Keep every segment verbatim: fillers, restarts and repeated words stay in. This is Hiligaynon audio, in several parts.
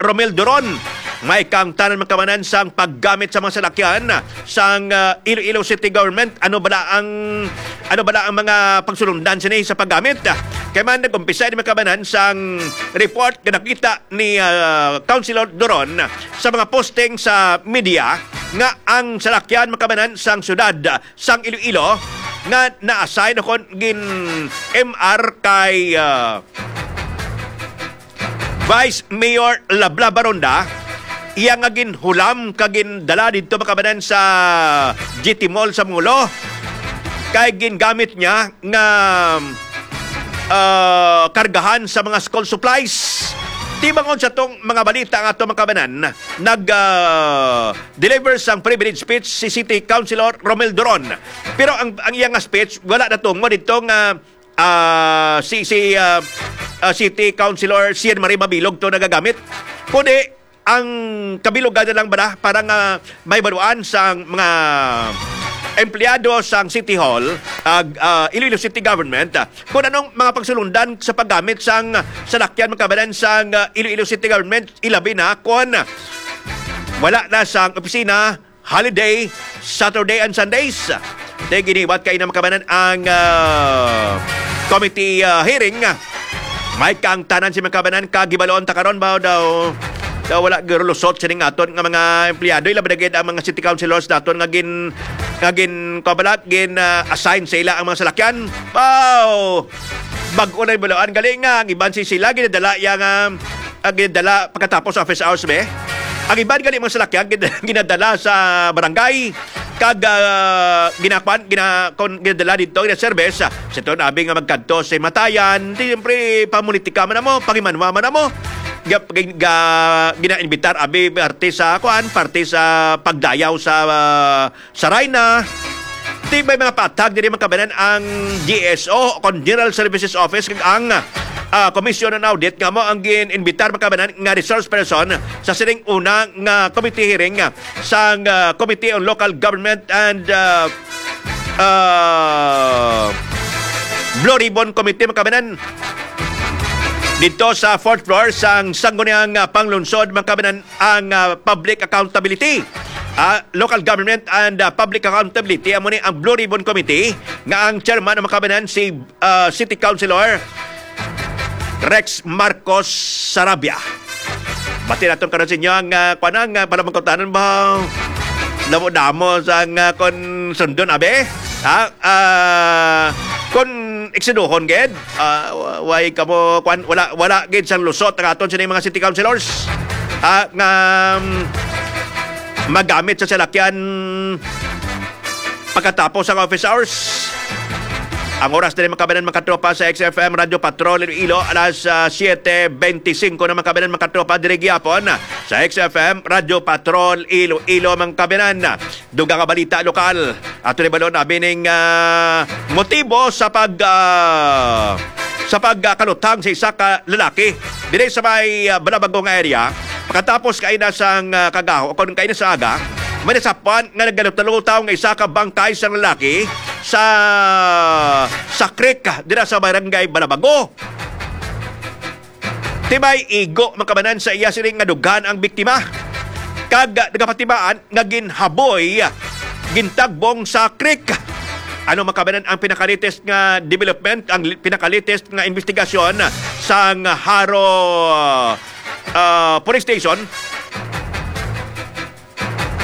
Romel Duron, may kaangtanan man kamanan sang paggamit sa mga salakyan sang, ah, Iloilo City Government. Ano bala ang, ano bala ang mga pagsulundan sini sa paggamit? Kay man nag-umpisa ini man kamanan sang report nga nakita ni, ah, Councilor Duron sa mga posting sa media nga ang salakyan man kamanan sang syudad sang Iloilo nga na-assign o kon gin-M R kay, ah, Vice Mayor Lablab Baronda, iya nga ginhulam kag gindala didto man kamanan sa G T Mall sa Molo, kay gingamit niya nga, ah, kargahan sa mga school supplies. Tibangon sa tong mga balita nga ato man kamanan, nag, ah, deliver sang privilege speech si City Councilor Romel Duron. Pero ang, ang iya nga speech, wala natungod dito nga, ah, si, si, ah, ah, City Councilor Sian Marie Mabilog to nagagamit. Kundi, ang kabilugan na lang bala para nga may baluan sang mga empleyado sang City Hall, ag, ah, Iloilo City Government, ah, kung anong mga pagsulundan sa paggamit sang salakyan man kamanan sang, ah, Iloilo City Government, ilabi na kung wala na sang opisina, holiday, Saturday and Sundays. Di giniwat kay na man kamanan ang, ah, committee, ah, hearing. May kaangtanan si man kamanan kag hibalon ta karon ba daw, daw wala girulusot sining aton nga mga empleyado, ilabi na gid ang mga city councilors naton nga gin, nga gin, kuwan bala, gin, ah, assign sa ila ang mga salakyan. Wow! Bag-o na hibaluan gali nga ang iban si sila ginadala iya nga, ah, ginadala pagkatapos sa office hours, be. Ang iban gali mga salakyan gin-, ginadala sa barangay kag, ah, ginakuan, gina-, kon ginadala didto, gina-service, ah, sa tuon abi nga magkadto sa himatayan, di, siyempre, pamulitika man namo, pangimanwa man namo. Ga-, ga-, gina-invitar abi parte sa kuan, parte sa pagdayaw sa, ah, Saray na, tibay mga patag diri man kamanan ang G S O, kon General Services Office, kag ang, ah, Commission on Audit nga amo ang gin-invitar man kamanan nga resource person sa sining una nga committee hearing, ah, sang, ah, Committee on Local Government and, ah, ah, Blue Ribbon Committee man kamanan dito sa fourth floor sang Sangguniang, ah, Panglungsod man kamanan ang, ah, public accountability. Ah, local government and, ah, public accountability, amo ni ang Blue Ribbon Committee nga ang chairman ang man kamanan si, ah, City Councilor Rex Marcos Sarabia. Bati naton karon sa inyo ang, ah, kuwan, ang, ah, palamangkutanan ba? Damo-damo sa nga kon sundon, abi? Ha? Ah, kon eksiduhon gid, ah, wa-, way kamo, kwan, wala, wala gid sang lusot ang aton sini mga city councilors, ah, nga, mm, magamit sa salakyan pagkatapos ang office hours. Ang oras diri, mga kabanan, mga katropa, sa X F M Radyo Patrol Iloilo, alas, ah, siete beintisinko na, mga kabanan, mga katropa, diri gihapon sa X F M Radyo Patrol Iloilo, mga kabanan. Dugang nga balita lokal. Ato ni balon abi ning, ah, motibo sa pag, ah, sa pag, ah, kalutang sa isa ka lalaki diri sa may, ah, Balabago nga area. Pagkatapos kaina sang, ah, kagaho, o kon kaina sa aga, may nasapwan nga naggalutaw nga isa ka bangkay sang lalaki sa, sa creek dira sa barangay Balabago. Tibay igo, mga kabanan, sa iya sining nga dughan ang biktima. Kag nagapatimaan nga ginhaboy, gintagbong sa creek. Ano, mga kabanan, ang pinakalatest nga development, ang li-, pinakalatest nga investigasyon sang Jaro, ah, Police Station?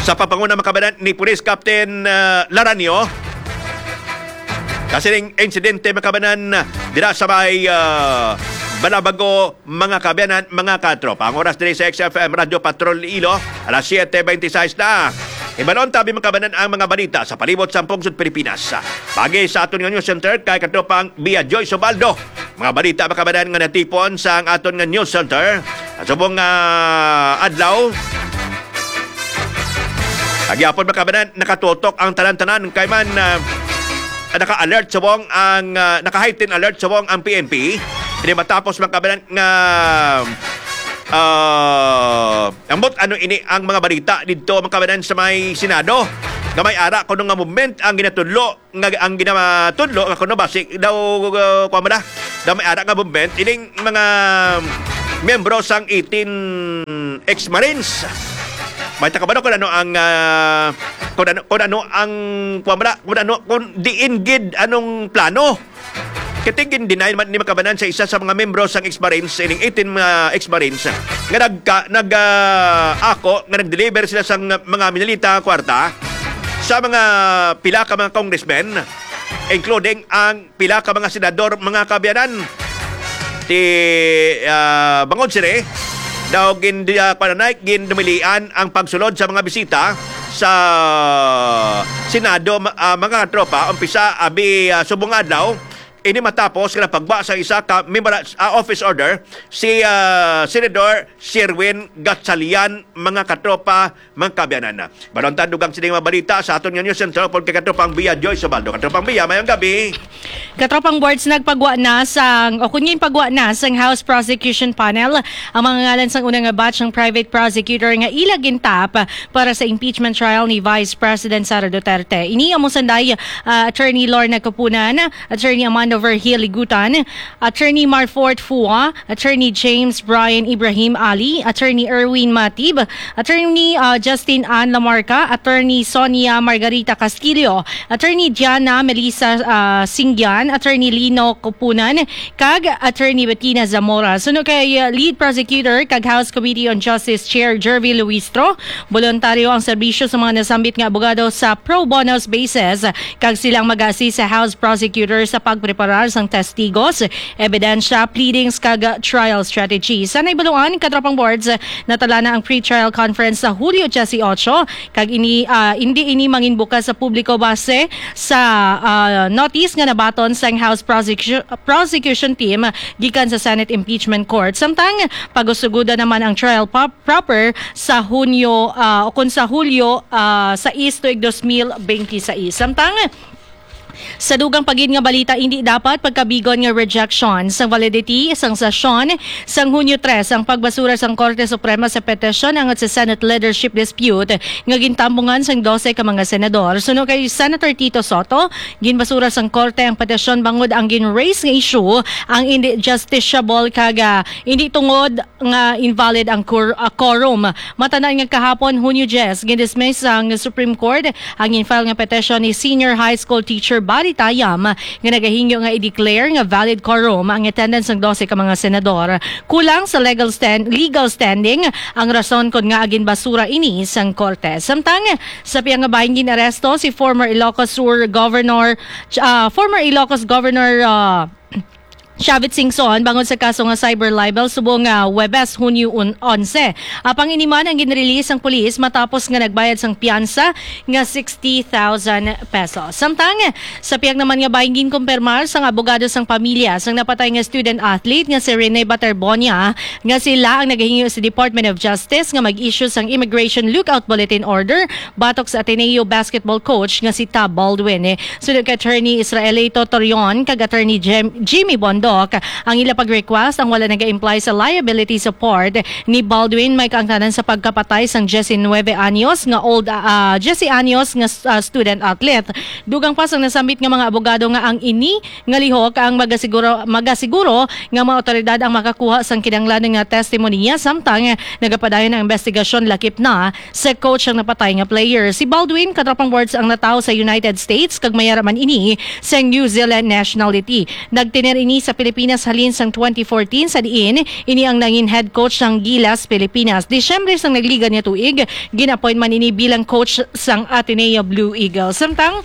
Sa pagpanguna, mga kabanan, ni Police Captain, ah, Laranio, sa sining insidente, mga kabanan, dira sa may, ah, Balabago, mga kabanan, mga katropa. Ang oras diri sa X F M Radyo Patrol Iloilo, alas siete beintiseis na. Hibalon ta abi, mga kabanan, ang mga balita sa palibot sang pungsod Pilipinas. Pagi sa aton nga news center kay katropang Bia Joy Subaldo. Mga balita, mga kabanan, nga natipon sa ang aton nga news center sa subong nga adlaw. Kag gihapon, mga kabanan, nakatutok ang tanan-tanan kay man, ah, naka-alert subong ang, ah, naka-heighten alert subong ang P N P. Ini matapos, mga kabanan, nga, ah, ambot ano ini ang mga balita didto, mga kabanan, sa may Senado, nga may ara kuno nga movement ang ginatudlo nga ang ginatudlo nga kuno basi daw, uh, kuwan mo na, daw may ara nga movement ining mga miyembro sang eighteen ex-Marines. May takabalo kung ano ang, ah, kung ano, kung ano ang, kung ano, kung diin gid anong plano. Kay gin-deny man ni makabanan sa isa sa mga membro sang ex-Marines, ining eighteen mga ex-Marines, nga nagka-, nag, ah, ako nga nag-deliver sila sang mga minalita kwarta sa mga pila ka mga congressmen, including ang pila ka mga senador, mga kaabyanan. Ti, ah, bangod sini, daw gin-, ah, pananay, gindumilian ang pagsulod sa mga bisita sa Senado, ma-, ah, mga katropa, umpisa abi, ah, subong adlaw, ini matapos nga nagpagwa sa isa ka memora-, ah, office order si, ah, Senador Sherwin Gatchalian, mga katropa, mga kaabyanan. Balon ta dugang sini mga balita sa aton nga News Center, upod kay Katropang Bia Joy Sobaldo. Katropang Bia, mayong gabi. Katropang Boards, nagpagwa na sang, o kun ginpagwa na sang House Prosecution Panel ang mga ngalan sang una nga batch sang private prosecutor nga ila gintap para sa impeachment trial ni Vice President Sara Duterte. Ini amo sanday, ah, Attorney Lorna Kapunan, Attorney Amando Vergil Ligutan, Attorney Marfort Fua, Attorney James Brian Ibrahim Ali, Attorney Erwin Matib, Attorney, ah, Justin Ann Lamarca, Attorney Sonia Margarita Castillo, Attorney Diana Melissa, ah, Singyan, Attorney Lino Kupunan, kag Attorney Bettina Zamora. Suno kay, ah, Lead Prosecutor kag House Committee on Justice Chair Jervy Luistro, boluntaryo ang serbisyo sa mga nasambit nga abogado sa pro bono basis, kag sila ang mag-assist sa House Prosecutor sa pagpreparar sang testigos, ebidensya, pleadings, kag trial strategy. Sa naibaluan, Katropang Boards, natala na ang pre-trial conference sa Hulyo diyesyocho, kag ini, ah, hindi ini manginbukas sa publiko base sa, ah, notice nga nabaton sang House Prosecu-, Prosecution Team gikan sa Senate Impeachment Court. Samtang, pag-usugoda naman ang trial pop-, proper sa Hunyo, ah, o kun sa Hulyo, ah, sais tuig dos mil benti sais. Samtang, sa dugang pa gid nga balita, hindi dapat pagkabigon nga rejection sang validity sang sesyon sang Hunyo tres ang pagbasura sang Korte Suprema sa petisyon angot sa Senate leadership dispute nga gintambungan sang dose ka mga senador. Suno kay Senator Tito Soto, ginbasura sang korte ang petisyon bangod ang gin-raise nga issue ang hindi justiciable kag, ah, hindi tungod nga invalid ang quor-, ah, quorum. Matanan nga kahapon, Hunyo diyes, gindismiss sang Supreme Court ang gin-file nga petition ni senior high school teacher Bari Tayam nga nagahingyo nga i-declare nga valid quorum ang attendance sang dose ka mga senador. Kulang sa legal stand-, legal standing ang rason kon ngaa ginbasura ini sang korte. Samtang, sa pihang nga bahin gin-aresto si former Ilocos Sur Governor, ah, former Ilocos Governor, ah, Shavit Singson bangod sa kaso nga cyber libel subong nga Huwebes, Hunyo un-, onse. Apang ini man ang ginrelease sang pulis matapos nga nagbayad sang piyansa nga sixty thousand pesos. Samtang, sa pihak naman nga bahin, ginkumpirmar sang abogado sang pamilya sang napatay nga student athlete nga si Rene Baterbonia nga sila ang nagahingyo sa Department of Justice nga mag-issue sang Immigration Lookout Bulletin Order batok sa Ateneo basketball coach nga si Tab Baldwin. Suno kay Attorney Israelito Torion kag Attorney Jem-, Jimmy Bondoc, ang ila pag-request ang wala naga-imply sa liability support ni Baldwin may kaangtanan sa pagkapatay sang diyesinuebe anyos nga old, ah, diyes anyos nga, ah, student athlete. Dugang pa sang nasambit nga mga abogado nga ang ini nga lihok ang magasiguro, magasiguro nga mga awtoridad ang makakuha sang kinahanglan nga testimonya, samtang nagapadayon ang investigasyon lakip na sa coach ang napatay nga player. Si Baldwin, Katropang Boards, ang natawo sa United States kag may ara man ini sang New Zealand nationality. Nagtener ini sa Pilipinas halin sang twenty fourteen, sa diin ini ang nangin head coach sang Gilas Pilipinas. Disyembre sang nagligad nga tuig, gin-appoint man ini bilang coach sang Ateneo Blue Eagles. Samtang,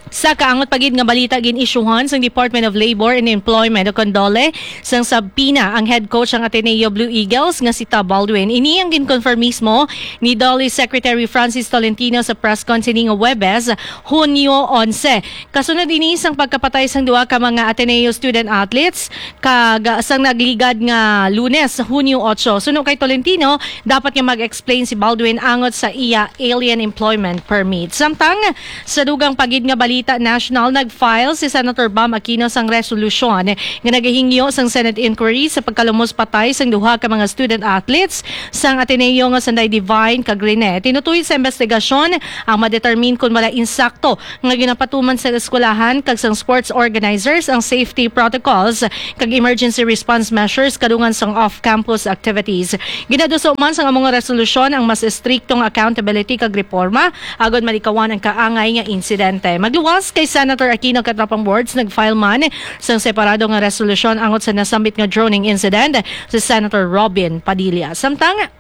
sa kaangot pa gid nga balita, gin-isyuhan sang Department of Labor and Employment o kon DOLE sang subpoena ang head coach sang Ateneo Blue Eagles nga si Tab Baldwin. Ini ang ginkonfirm mismo ni DOLE Secretary Francis Tolentino sa press con sining Huwebes, Hunyo onse. Kasunod ini sang pagkapatay sang duha ka mga Ateneo student athletes kag sang nagligad nga Lunes, Hunyo otso. Suno kay Tolentino, dapat nga mag-explain si Baldwin angot sa iya alien employment permit. Samtang, sa dugang pa gid nga balita, Balita National, nag-file si Senator Bam Aquino sang resolusyon nga nagahingyo sang Senate inquiry sa pagkalumos patay sang duha ka mga student athletes sang Ateneo nga Sanday Divine kag Rene. Tinutoy sa investigasyon ang ma-determine kon wala insakto nga ginapatuman sa eskwelahan kag sang sports organizers ang safety protocols kag emergency response measures kadungan sang off-campus activities. Ginaduso man sang amo nga resolusyon ang mas estrikto nga accountability kag reforma agod malikawan ang kaangay nga insidente. Magluwas kay Senator Aquino, katropang boards, nag-file man sang separado nga resolusyon angot sa nasambit nga droning incident si Senator Robin Padilla. Samtang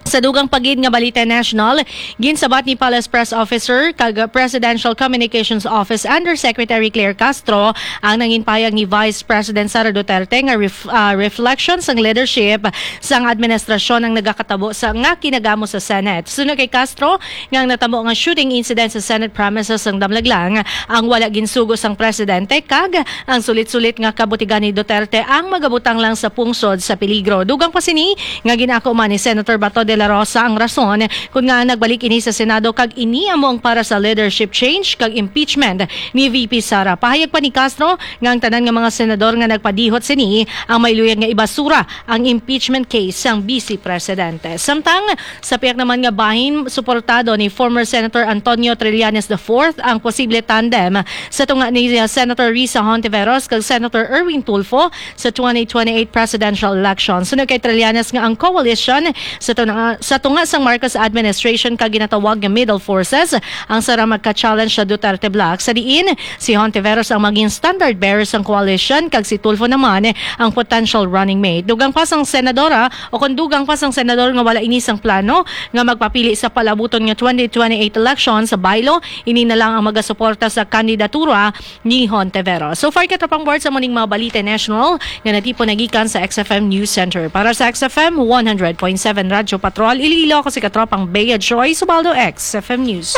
sa dugang pa gid nga balita national, ginsabat ni Palace Press Officer kag Presidential Communications Office Undersecretary Claire Castro ang nangin pahayag ni Vice President Sara Duterte nga ref-, ah, reflection sang leadership sang administrasyon ang nagakatabo sa nga kinagamo sa Senate. Suno kay Castro, nga ang natabo nga shooting incident sa Senate premises sang Damlaglang ang wala ginsugo sang presidente kag ang sulit-sulit nga kabutigan ni Duterte ang magabutang lang sa pungsod sa peligro. Dugang pa sini nga ginako man ni Senator Bato de la Rosa ang rason kun nga nagbalik ini sa Senado kag ini amo ang para sa leadership change kag impeachment ni V P Sara. Pahayag pa ni Castro nga ang tanan nga mga senador nga nagpadihot sini ang may luyag nga ibasura ang impeachment case sang Vice Presidente. Samtang sa piyak naman nga bahin, suportado ni former Senator Antonio Trillanes the fourth ang posible tandem sa tunga ni Senator Risa Hontiveros kag Senator Erwin Tulfo sa twenty twenty-eight presidential election. Suno kay Trillanes nga ang coalition sa tunga, sa tunga sang Marcos administration ka ginatawag nga middle forces ang sara magka-challenge sa Duterte bloc, sa diin si Hontiveros ang maging standard bearer sang coalition kag si Tulfo naman ang potential running mate. Dugang pa sang senadora o kung dugang pa sang senador nga wala ini sang plano nga magpapili sa palabuton nga twenty twenty-eight election sa Bailo, ini na lang ang magasuporta sa kandidatura ni Hontiveros. So far, katropang board, sa muning mga balita national nga natipon nagikan sa X F M News Center. Para sa X F M one hundred point seven Radyo Patrol Iloilo, ako si katropang Bea Joy Subaldo, X F M News.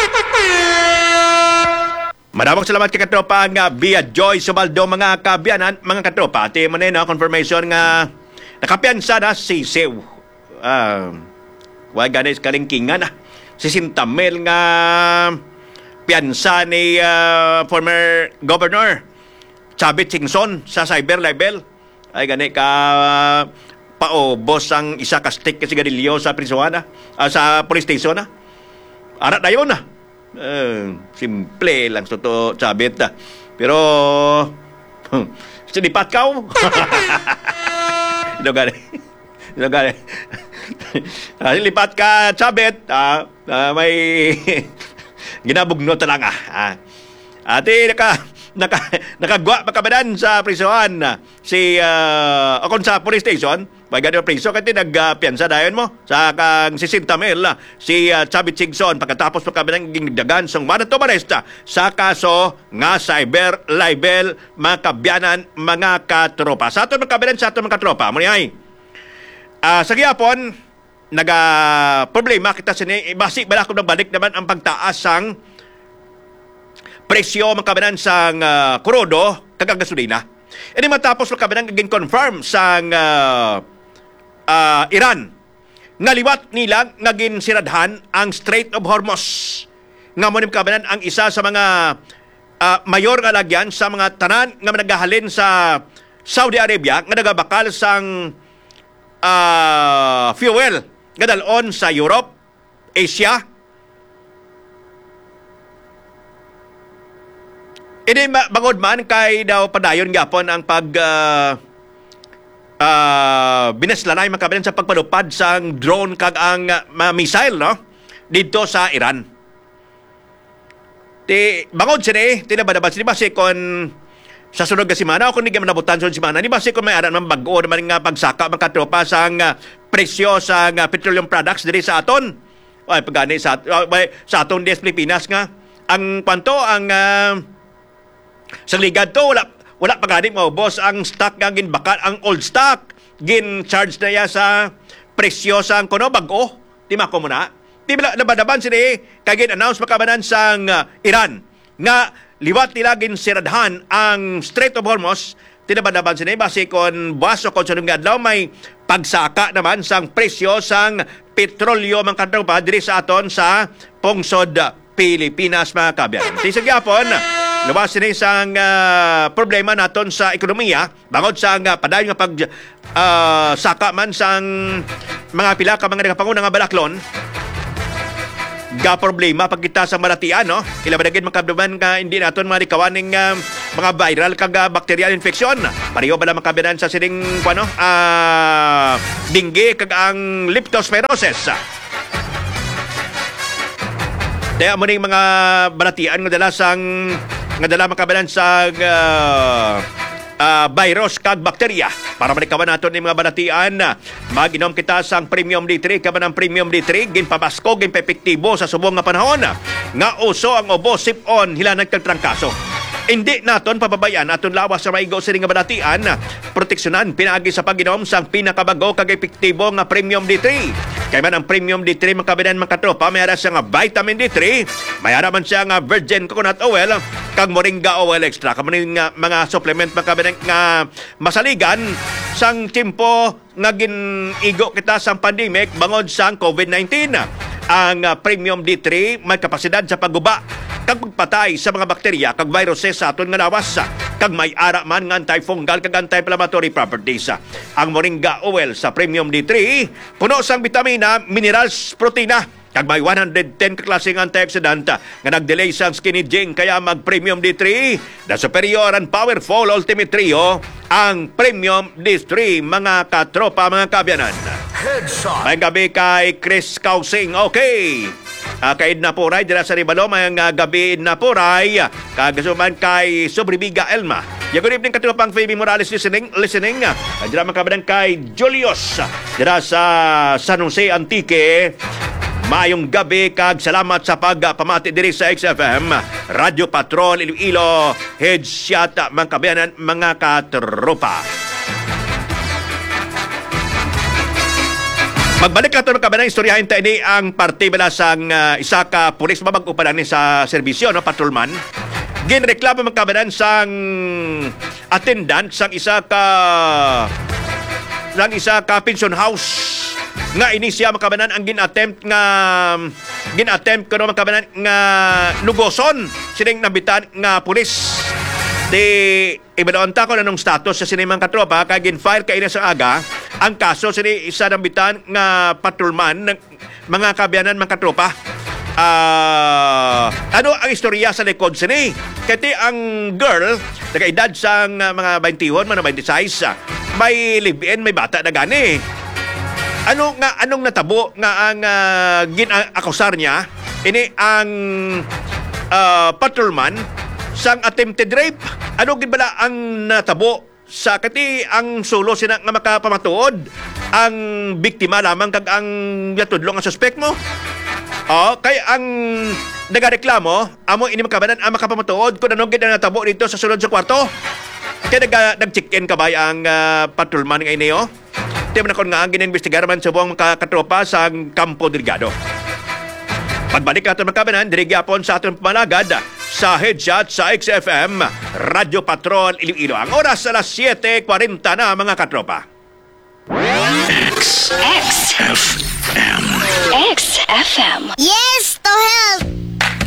Madamog salamat kay katropa nga Bea Joy Subaldo, mga kaabyanan, mga katropa. Ati mo na, no, confirmation nga nakapiyansa na si Sisiw. Ah, wa gani sa kalingkingan, ah. Sesenta mil nga piyansa ni, ah, former Governor Chavit Singson sa cyber libel. Ay, gani ka paubos ang isa ka stick ka sigarilyo sa prisuhan, ah, ah, sa police station, ah. Ara dayon, ah. Eh, simple lang sa to, Chavit, ah. Pero, sinipat ka, oh. Ito gani. Ito gani. Ah, sinipat ka, Chavit, ah, ah, may ginabugnot na lang, ah. Ah. Ati, naka, naka, nakagwa pa kabanan sa prisuhan, ah, si, ah, o kung sa police station, may gani priso, kati nagpiyansa dayon mo sa kang sesenta mil, ah, si, ah, Chavit Singson, pagkatapos pa kabanan gindagan sang warrant of arrest, ah, sa kaso nga cyber libel, mga kaabyanan, mga katropa. Sa aton, mga kaabyanan, sa aton, mga katropa, mo ni ay, ah, sa gihapon, naga problema kita sini, basi bala kung nagbalik naman ang pagtaas sang presyo, mga kaabyanan, sang, ah, krudo kag ang gasolina. Ini matapos, mga kaabyanan, gin-confirm sang, ah, ah, Iran nga liwat nila nga ginsiradhan ang Strait of Hormuz, nga mo ni, mga kaabyanan, ang isa sa mga, ah, mayor nga lagyan sa mga tanan nga nagahalin sa Saudi Arabia nga nagabakal sang, ah, fuel nga dalon sa Europe, Asia. Ini ma-, bangod man kay daw padayon gyapon ang pag, ah, ah, binaslanay, mga kaabyanan, sa pagpalupad sang drone kag ang, ah, mga missile, no, didto sa Iran. Ti, bangod sini, ti nabanaban sini, basi kon sa sunod nga semana o kon di man nabutan sunod semana ni, basi kon may ara naman bag-o naman nga pagsaka, mga katropa, sang, ah, presyo sang, ah, petroleum products diri sa aton. Ay, pagani sa, ah, may, sa aton diri sa Pilipinas nga ang kwanto, ang, ah, sa ligad to, wala, wala pa gani maubos ang stock nga ginbakal, ang old stock, gin-charge na iya sa presyo sang kuno bag-o. Di mako mo na? Di ba nabanaban sini kay gin-announce, mga kaabyanan, sang, ah, Iran nga liwat nila ginsiradhan ang Strait of Hormuz? Di nabanaban sini, basi kon buwas o kon sunod nga adlaw may pagsaka naman sang presyo sang petrolyo, mga katropa, diri sa aton sa pungsod Pilipinas, mga kaabyanan. Ti sa gihapon, Luwas sini sang, ah, problema naton sa ekonomiya, bangod sa nga padayon nga pag, ah, saka man sang mga pila ka mga nagapanguna nga balaklon, ga problema pag kita sa malatian, no? Ilabi na gid, mga kaabyanan, nga hindi naton malikawan ning, ah, mga viral kag, ah, bacterial infection. Pareho bala, mga kaabyanan, sa sining, kuwan, no? Ah, dengue kag ang leptospirosis. Kaya mo ning mga balatian nga dala sang, nga dala, mga kaabyanan, sang, ah, ah, virus kag bakterya. Para malikawan naton ning mga balatian, mag-inom kita sang Premium D three. Kaya man ang Premium D three, ginpabasko, ginpaepektibo sa subong nga panahon nga uso ang ubo, sip-on, hilanat kag trangkaso. Hindi naton pababayan aton lawas sa maigo sini nga balatian. Proteksyonan pinaagi sa pag-inom sang pinakabago kag epektibo nga Premium D three. Kay man ang Premium D three, mga kaabyanan, mga katropa, may ara siya nga vitamin D three, may ara man siya nga virgin coconut oil, kag moringa oil extra. Kamo ni nga mga supplement, mga kaabyanan, nga masaligan sang tiyempo nga gin-igo kita sang pandemic bangod sang COVID nineteen. Ang, ah, Premium D three may kapasidad sa pagguba kag pagpatay sa mga bakterya kag viruses sa aton nga lawas, kag may ara man nga antifungal kag anti-inflammatory properties. Ang moringa oil sa Premium D three puno sang bitamina, minerals, protina, kag may one hundred ten ka klase nga antioxidant nga nag-delay sang skin aging, kaya mag Premium D three, the superior and powerful ultimate trio, ang Premium D three, mga katropa, mga kaabyanan. Headshot. May gabi kay Chris Kausing. Okay. Ah, kay Edna Puray, dira sa Ribalo, may nga gabi, Edna Puray. Kag suman kay Sobribiga Elma. Yeah, good evening, katropang Phoebe Morales, listening, listening. Ah, dira, mga kaabyanan, kay Julius, dira sa San Jose, Antique. Maayong gabi kag salamat sa pagpamati diri sa X F M, Radyo Patrol, Iloilo, headshot, mga kaabyanan, mga katropa. Magbalik nato, mga kaabyanan, istoryahin ta ini ang parte bala sang, ah, isa ka pulis, mabag-o pa lang ni sa serbisyo, no, patrolman. Ginreklamo, mga kaabyanan, sang attendant sang isa ka, sang isa ka pension house nga ini siya, mga kaabyanan, ang gin-attempt nga, gin-attempt kuno, mga kaabyanan, nga lugoson sining nambitan nga pulis. Di, ibaloon ta kung anong status sa sini, mga katropa, kay gin-file kaina sa aga ang kaso sini isa nambitan nga patrolman, mga kaabyanan, mga katropa. Ah, ano ang istorya sa likod sini? Kay ti ang girl, nag-edad sang, ah, mga twenty-one man o twenty-six, ah, may live-in, may bata na gani. Ano nga, anong natabo nga ang, ah, gin-akusar niya? Ini ang, ah, patrolman sang attempted rape. Ano gid bala ang natabo sa kati ang sulo sina nga makapamatuod ang biktima lamang kag ang ginatudlo nga suspek mo? Oh, kay ang nagareklamo, amo ini, mga kaabyanan, ang makapamatuod kung ano gid ang natabo dito sa sulod sa kwarto. Kay naga-, nag-check-in kabay ang, ah, patrolman nga ini, oh. Ti man akon nga ang ginimbestigar man subong, mga katropa, sa Campo Delgado. Pagbalik naton, mga kaabyanan, diri gyapon sa aton pamanagad sa Headshot sa X F M, Radyo Patrol, Iloilo. Ang oras alas siete kwarenta na, mga katropa. X. X. F M. X F M. Yes to health!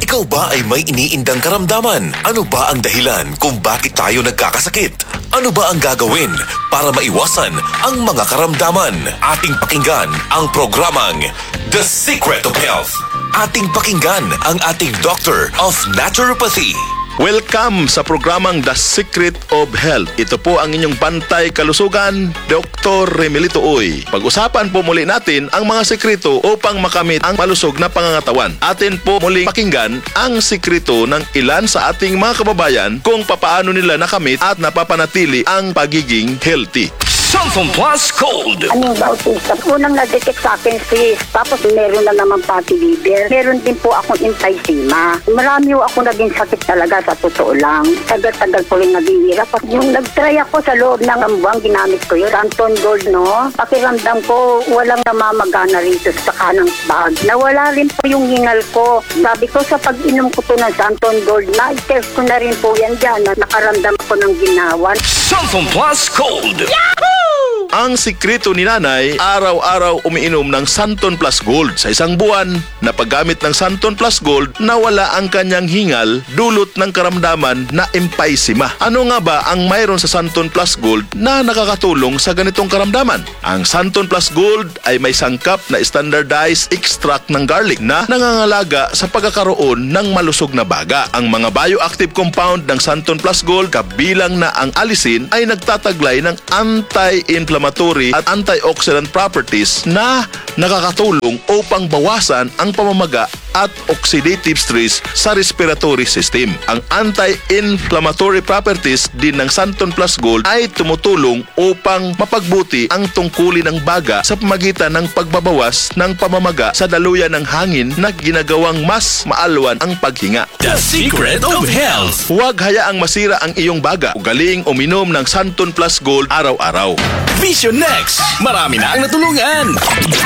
Ikaw ba ay may iniindang karamdaman? Ano ba ang dahilan kung bakit tayo nagkakasakit? Ano ba ang gagawin para maiwasan ang mga karamdaman? Ating pakinggan ang programang The Secret of Health. Ating pakinggan ang ating Doctor of Naturopathy. Welcome sa programang The Secret of Health. Ito po ang inyong bantay kalusugan, Doktor Remelito Uy. Pag-usapan po muli natin ang mga sekreto upang makamit ang malusog na pangangatawan. Atin po muling pakinggan ang sekreto ng ilan sa ating mga kababayan kung papaano nila nakamit at napapanatili ang pagiging healthy. Santon Plus Gold. Ano ba, autista? Unang na-detect sa akin, sis. Tapos meron na naman fatty liver. Meron din po akong emphysema. Marami ho ako naging sakit talaga, sa totoo lang. Tagal-tagal ko rin naghihirap. At yung nag-try ako sa loob ng isang buwan, ginamit ko yun. Santon Gold, no? Pakiramdam ko, walang namamagana rito sa kanang bag. Nawala rin po yung hingal ko. Sabi ko, sa pag-inom ko po ng Santon Gold, na-test ko na rin po yan dyan, na nakaramdam ako ng ginawan. Santon Plus Gold. Yahoo! Ang sikreto ni Nanay, araw-araw umiinom ng Santon Plus Gold. Sa isang buwan na paggamit ng Santon Plus Gold, nawala ang kanyang hingal dulot ng karamdaman na emphysema. Ano nga ba ang mayroon sa Santon Plus Gold na nakakatulong sa ganitong karamdaman? Ang Santon Plus Gold ay may sangkap na standardized extract ng garlic na nangangalaga sa pagkakaroon ng malusog na baga. Ang mga bioactive compound ng Santon Plus Gold, kabilang na ang allicin, ay nagtataglay ng anti-inflammatory at antioxidant properties na nakakatulong upang bawasan ang pamamaga at oxidative stress sa respiratory system. Ang anti-inflammatory properties din ng Santon Plus Gold ay tumutulong upang mapagbuti ang tungkulin ng baga sa pamagitan ng pagbabawas ng pamamaga sa daluyan ng hangin na ginagawang mas maalwan ang paghinga. The secret of health. Huwag hayaang masira ang iyong baga. Ugaling uminom ng Santon Plus Gold araw-araw. Vision Next. Marami na ang natulungan.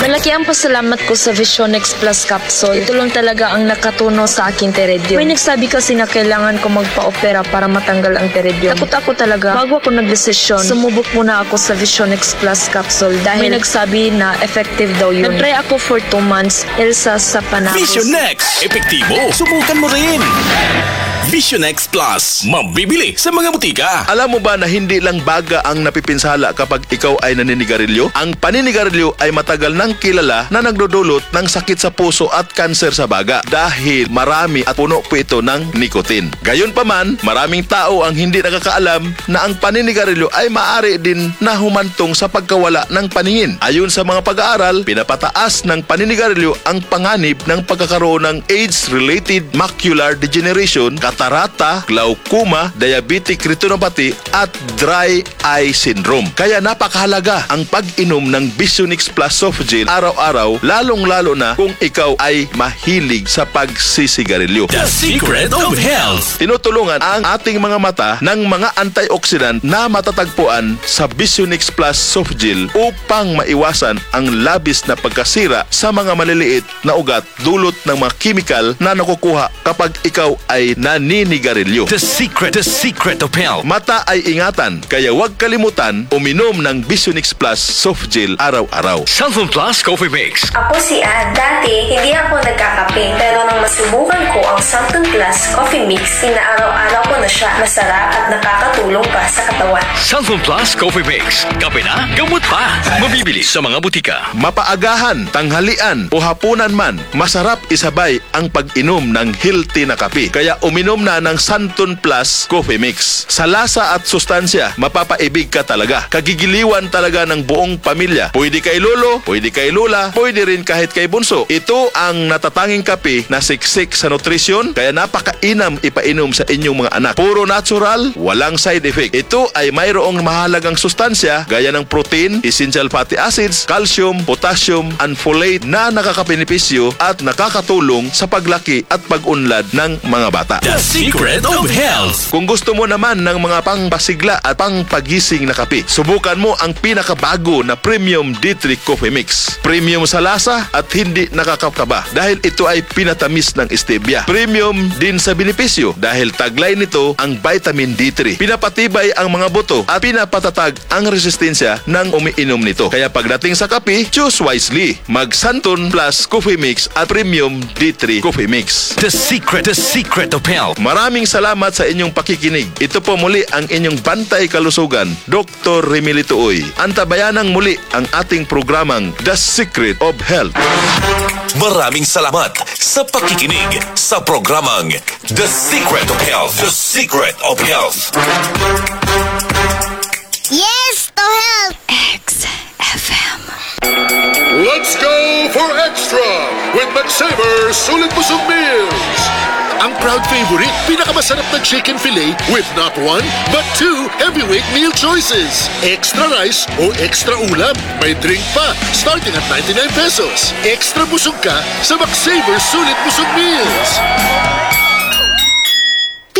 Malaki ang pasalamat ko sa Vision X Plus Capsule. Ito lang talaga ang nakatuno sa aking teredyo. May nagsabi kasi na kailangan ko magpa-opera para matanggal ang teredyo. Takot ako talaga. Bago ako nagdesisyon, sumubok muna ako sa Vision X Plus Capsule dahil may nagsabi na effective daw yun. Nag-try ako for two months, Elsa sa Panacos. Vision X. Epektibo. Subukan mo rin. Vision X Plus. Mabibili sa mga butika. Alam mo ba na hindi lang baga ang napipinsala kapag ikaw ay naninigarilyo? Ang paninigarilyo ay matagal nang kilala na nagdudulot ng sakit sa puso at kanser sa baga dahil marami at puno po ito ng nicotine. Gayunpaman, maraming tao ang hindi nakakaalam na ang paninigarilyo ay maaari din na humantong sa pagkawala ng paningin. Ayon sa mga pag-aaral, pinapataas ng paninigarilyo ang panganib ng pagkakaroon ng age-related macular degeneration, katarata, glaucoma, diabetic retinopathy, at dry eye syndrome. Kaya napakahalaga ang pag-inom ng Vision X Plus Soft Gel araw-araw, lalong-lalo na kung ikaw ay mahilig sa pagsisigarilyo. The secret of health. Tinutulungan ang ating mga mata ng mga antioxidant na matatagpuan sa Vision X Plus Soft Gel upang maiwasan ang labis na pagkasira sa mga maliliit na ugat dulot ng mga kemikal na nakukuha kapag ikaw ay naninigarilyo. The secret, the secret of health. Mata ay ingatan, kaya huwag kalimutan uminom ng Vision X Plus Soft Gel araw-araw. Santon Plus Coffee Mix. Ako si Ann. Dati, hindi ako nagkakape, pero nang masubukan ko ang Santon Plus Coffee Mix, inaaraw-araw ko na siya. Masarap at nakakatulong pa sa katawan. Santon Plus Coffee Mix. Kape na, gamot pa. Mabibili sa mga butika. Mapaagahan, tanghalian, o hapunan man, masarap isabay ang pag-inom ng healthy na kape. Kaya uminom na ng Santon Plus Coffee Mix. Sa lasa at sustansya, mapapaibig ka talaga. Kagigiliwan talaga ng buong pamilya. Pwede kay lolo, pwede kay lola, pwede rin kahit kay bunso. Ito ang natatanging kape na siksik sa nutrisyon, kaya napakainam ipainom sa inyong mga anak. Puro natural, walang side effect. Ito ay mayroong mahalagang sustansya gaya ng protein, essential fatty acids, calcium, potassium, and folate na nakakabenepisyo at nakakatulong sa paglaki at pag-unlad ng mga bata. The secret of health. Kung gusto mo naman ng mga pangpasigla at pangpagising na kape, subukan mo ang pinakabago na Premium D three Coffee Mix. Premium sa lasa at hindi nakakakaba dahil ito ay pinatamis ng stevia. Premium din sa benepisyo dahil taglay nito ang vitamin D three. Pinapatibay ang mga buto at pinapatatag ang resistensya ng umiinom nito. Kaya pagdating sa kape, choose wisely. Mag Santon Plus Coffee Mix at Premium D three Coffee Mix. The secret, the secret of health. Maraming salamat sa inyong pakikinig. Ito po muli ang inyong bantay kalusugan, Doktor Remilito Uy. Antabayanang muli ang ating programang The Secret of Health. Maraming salamat sa pakikinig sa programang The Secret of Health. The Secret of Health. Yes to health! X F M. Let's go for extra with McSaver Sulit Busog Meals. Ang crowd favorite, pinakamasarap na chicken fillet with not one, but two heavyweight meal choices. Extra rice o extra ulam. May drink pa, starting at ninety-nine pesos. Extra busog ka sa McSaver Sulit Busog Meals.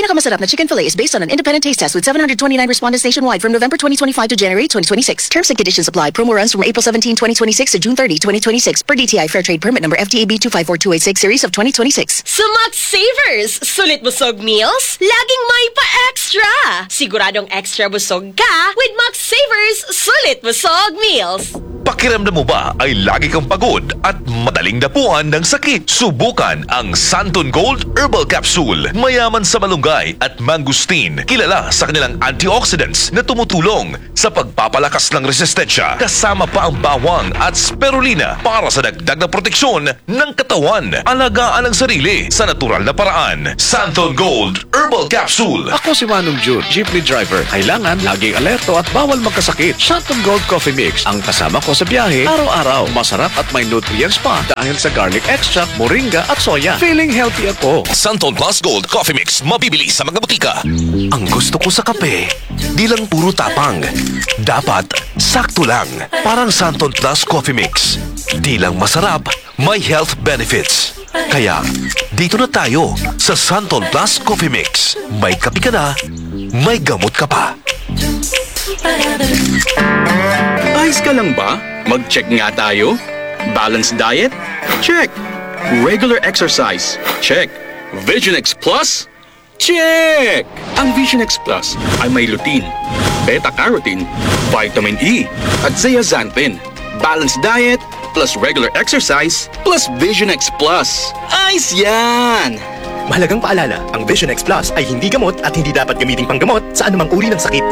Pinakamasarap na chicken fillet is based on an independent taste test with seven hundred twenty-nine respondents nationwide from November twenty twenty-five to January twenty twenty-six. Terms and conditions apply. Promo runs from April seventeen, twenty twenty-six to June thirty, twenty twenty-six, per D T I Fair Trade Permit Number F T A B two five four two eight six series of twenty twenty-six. Sa Max Savers, sulit busog meals, laging may pa-extra. Siguradong extra busog ka with Max Savers, sulit busog meals. Pakiramdam mo ba ay lagi kang pagod at madaling dapuan ng sakit? Subukan ang Santon Gold Herbal Capsule. Mayaman sa malunggay at mangosteen, kilala sa kanilang antioxidants na tumutulong sa pagpapalakas ng resistensya, kasama pa ang bawang at spirulina para sa dagdag na proteksyon ng katawan. Alagaan ang sarili sa natural na paraan. Santon Gold Herbal Capsule. Ako si Manong Jun, jeepney driver. Kailangan laging alerto at bawal magkasakit. Santon Gold Coffee Mix ang kasama ko sa biyahe araw-araw. Masarap at may nutrients pa dahil sa garlic extract, moringa at soya. Feeling healthy ako. Santon Plus Gold Coffee Mix, mabibili sa mga butika. Ang gusto ko sa kape, di lang puro tapang. Dapat sakto lang. Parang Santon Plus Coffee Mix. Di lang masarap, may health benefits. Kaya, dito na tayo sa Santon Plus Coffee Mix. May kape ka na, may gamot ka pa. Ayos ka lang ba? Mag-check nga tayo. Balanced diet? Check. Regular exercise? Check. Vision X Plus? Check! Ang Vision X Plus ay may lutein, beta-carotene, vitamin E, at zeaxanthin. Balanced diet plus regular exercise plus Vision X Plus. Ayos yan! Mahalagang paalala, ang Vision X Plus ay hindi gamot at hindi dapat gamiting panggamot sa anumang uri ng sakit.